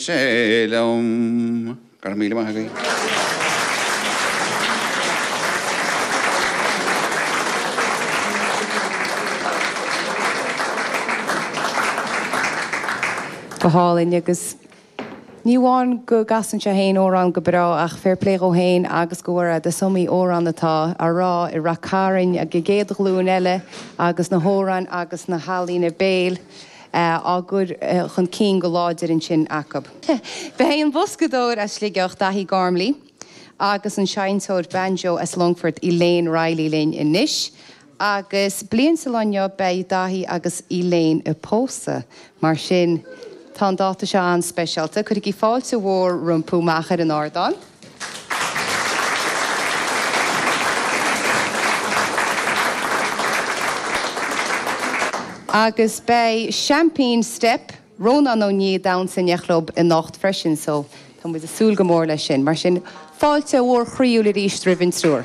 Sé liom. Go raibh míle maith agaibh. Go hálainn agus ní amháin go gcasann sé féin amhrán go breá ach fair play dhó féin agus do Mhairéad, is iomaí amhrán atá á rá i Rath Cairn ag an gcéad ghlúin eile agus na hamhráin agus na healaíona béil. á gcur chun cinn go láidir ansin acu. Beidh an boscadóir as Sligeach, Daithí Gormley, agus an seinnteoir banjo as Longfort, Elaine Reilly linn anois agus bliain sa lá inniu beidh Daithí agus Elaine ag pósadh. Mar sin tá an dáta seo an-speisialta. Cuirigí fáilte mhór rompu amach ar an ardán. Agus beidh seaimpín Steip, Rónán Ó Nia ag damhsa in éineacht leo anocht freisin so tá muid ag súil go mór leis sin. Mar sin, fáilte mhór chroíúil arís roimh an triúr.